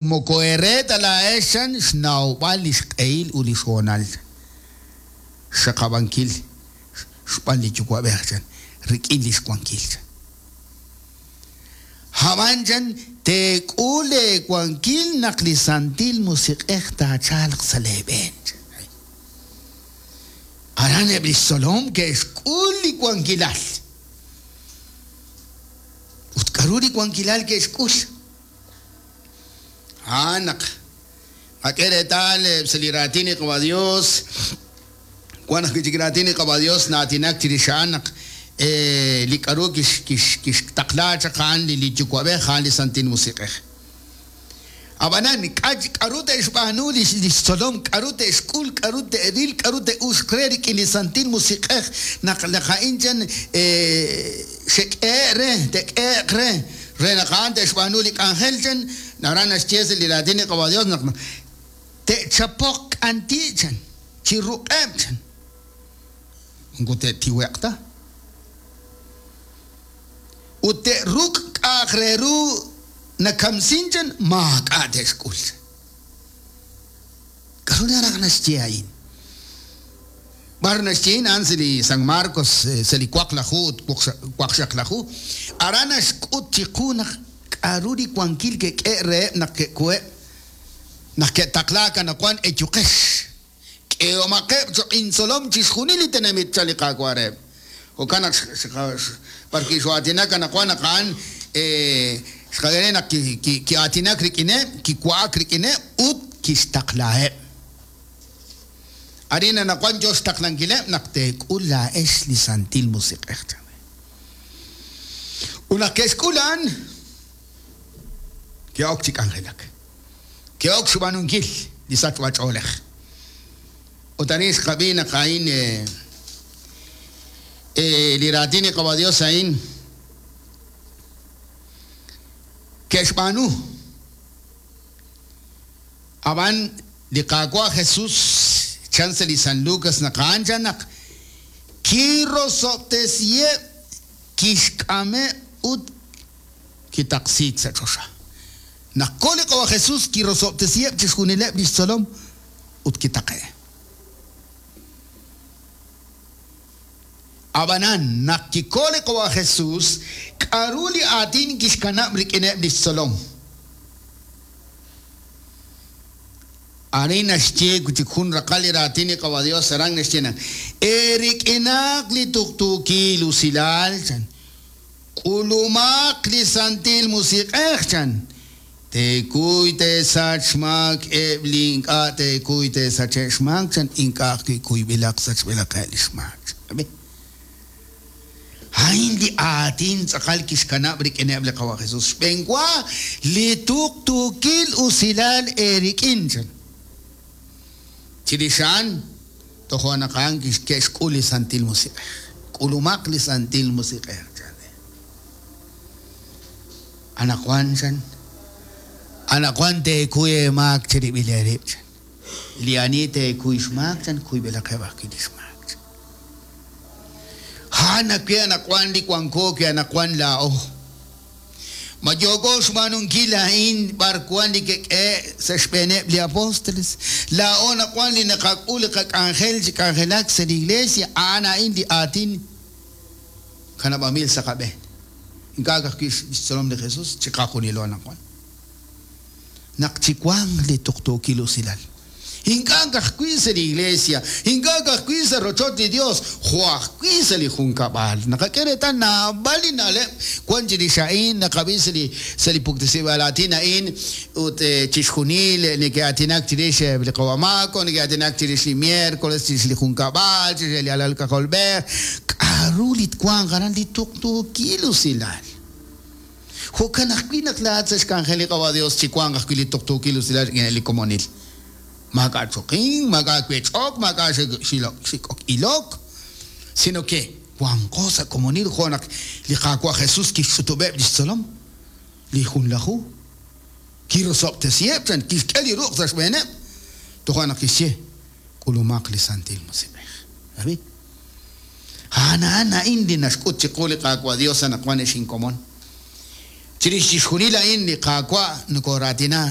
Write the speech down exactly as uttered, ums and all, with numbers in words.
Moko eere ta laa'ex chan xnawb'al li xq'ehil ut li xhoonal xxaqab'ankil xb'aan li Yuwa'b'ej chan rik'in li xwankil chan. Ab'an chan teek'ul eewankil naq li Santil Musiq'ej taachalq sa' leeb'een chan. Aran eb' li xtzolom ke'xk'ul li wankilal. Ut k'aru li wankilal ke'xk'ul? A'an naq qak'e reetal sa' li raatin li Qawa' Dios, wan ajwi' chik raatin li Qawa' Dios na'aatinak chirix a'an naq li k'aru kixtaqla chaq a'an li Yuwa'b'ej a'an li Santil Musiq'ej. Ab'anan k'aru te'xb'aanu li xtzolom, k'aru te'xk'ul, k'aru te'ril, k'aru te'uxq re rik'in li Santil Musiq'ej naq naq a'in chan xek'ehe' re, te'k'ehe'q re, re naq a'an te'xb'aanu li k'anjel chan, aran naxye sa' li raatin li Qawa' Dios naq te'chapoq k'anti' chan, chi ruq'eb' chan. Moko te'tiwe'q ta. Ut te'ruk' k'a'aq re ru nakamsin chan, maak'a' te'xk'ul. K'aru naraj naxye a'in? B'ar naxye a'an sa' li San Marcos, sa' li waqlaju ut waqxaqlaju, aran naxk'ut chiqu naq k'aru li wankil ke'k'e reheb' naq ke'kuheb', naq ke'taqlaak anaqwan eyuqex. K'ehomaqeb' cho'q intzolom chixjunil li tenamit chan li Qaawa' reheb'. Jo'kan naq b'ar ki'xo'aatinak anaqwan naq a'an xqak'e naq ki'aatinak rik'ineb', kiwa'ak rik'ineb' ut kixtaqlaheb'. Arin anaqwan yo xtaqlankileb' naq teek'ul laa'ex li Santil Musiq'ej chan. Ut naq ke'xk'ul a'an, ke'ok chi k'anjelak. Ke'ok xb'aanunkil li sachb'ach'oolej. Ut arin xqab'i naq a'in li raatin li Qawa' Dios a'in ke'xb'aanu. Ab'an li Qaawa' Jesús chan sa' li San Lucas naq a'an chan naq kirosob'tesiheb' kixk'ameb' ut kitaqsiik sa' choxa. Naq ko li Qawa' Jesús kirosob'tesiheb' chixjunileb' li xtzolom ut kitaqe'. Ab'anan naq kiko li Qawa' Jesús, k'aru li aatin kixkanab' rik'ineb' li xtzolom. Arin naxye wi' chik jun raqal li raatin li Qawa' Dios aran naxye naq eerik'inaq li tuqtuukil usilal chan, k'ulumaq li Santil Musiq'ej chan, teekuy teesach xmaak eb' li ink'a' teekuy teesache' xmaak chan, ink'a' ajwi' kuyb'ilaq sachb'ilaqeb' li xmaak. A'in li aatin tz'aqal kixkanab' rik'ineb' li Qawa' Jesús. Xb'enwa li tuqtuukil usilal eerik'in chan. Chirix a'an tojo' naq a'an ke'xk'ul li Santil Musiq'ej. K'ulumaq li Santil Musiq'ej chan. Anaqwan chan, anaqwan teekuy eemaak chirib'il eerib' chan. Li ani teekuy xmaak chan, kuyb'ilaqeb' ajwi' li xmaak chan. A'an ajwi' anaqwan li wanko wi' anaqwan laa'o. Ma yooko xb'aanunkil a'in b'ar wan li ke'k'ehe' sa' xb'eeneb' li apóstoles. Laa'o anaqwan li naqak'ul li qak'anjel chi k'anjelak sa' li iglesia, a'an a'in li aatin kanab'amil sa' qab'een. Ink'a' ajwi' xtzolom li Jesús chiqajunilo anaqwan. Naq chiwanq li tuqtuukil usilal. Ink'a' ajwi' sa' li iglesia, ink'a' ajwi' sa' rochoch li Dios, jo' ajwi' sa' li junkab'al. Naqak'e reetal naab'al li na'leb' wan chirix a'in, naqab'i sa' li sa' li puktesib'al aatin a'in ut chixjunil neke'aatinak chirix li Qawa' Mako, neke'aatinak chirix li miércoles, chirix li junkab'al, chirix li alal k'ajolb'ej. K'aru li twanq aran li tuqtuukil usilal. Jo'kan ajwi' naq laa'at sa' xk'anjel li Qawa' Dios chiwanq ajwi' li tuqtuukil usilal rik'in li komonil. Maak'a' choqink, maak'a' wech'ok, maak'a' xik'ok ilok, sino que wanqo sa' komonil jo' naq li Qaawa' Jesús kixch'utub'eb' li xtzolom, li junlaju, kirosob'tesiheb' chan, kixk'e li ruq' sa' xb'eeneb', tojo' naq kixye, k'ulumaq li Santil Musiq'ej. Abi? A'an a'an a'in li naxk'ut chiqu li Qaawa' Dios anaqwan ex inkomon. Chirix chixjunil a'in li Qaawa' nokoraatina